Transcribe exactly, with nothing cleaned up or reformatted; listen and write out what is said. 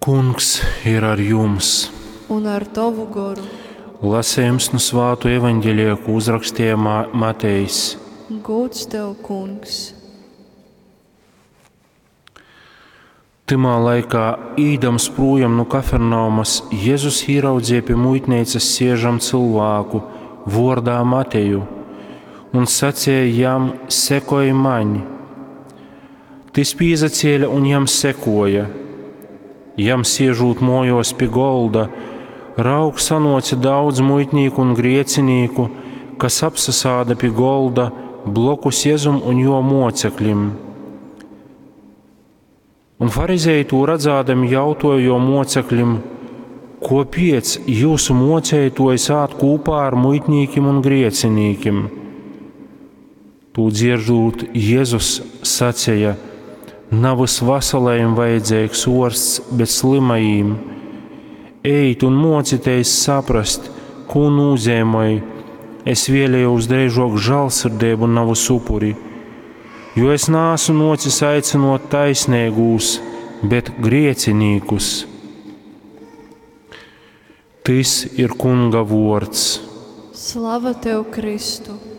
Kungs ir ar jums! Un ar tovu goru. Lasējums nu svātu evaņģelija, ko uzrakstīja Matejs. Gods tev, Kungs! Tymā laikā, īdams projām no Kafarnaumas, Jēzus ieraudzīja pie muitnīcas siežam cilvēku vordā Mateju un sacīja jam: Sekoj maņ! Tis pīzacēla un jam sekoja. Jam siežūt mojos pie golda, raug sanoca daudz muitnīku un griecinīku, kas apsasāda pie golda blokus Jēzum un jo mocekļim. Un farizēji to redzādami jautoja jo mocekļim: Kopiec jūsu mocētojs ād kopā ar muitnīkim un griecinīkim? Tū dzieržūt, Jēzus sacīja: Navys veselajiem vajadzīgs orsts, bet slimajiem. Ejit un mocieties saprast, ko nozīmē. Es vēlējos dreižok žēlsirdību, navys upuri, jo es nāsu nocis aicinot taisnīgūs, bet griecinīkus. Tis ir Kunga vords. Slava tev, Kristu!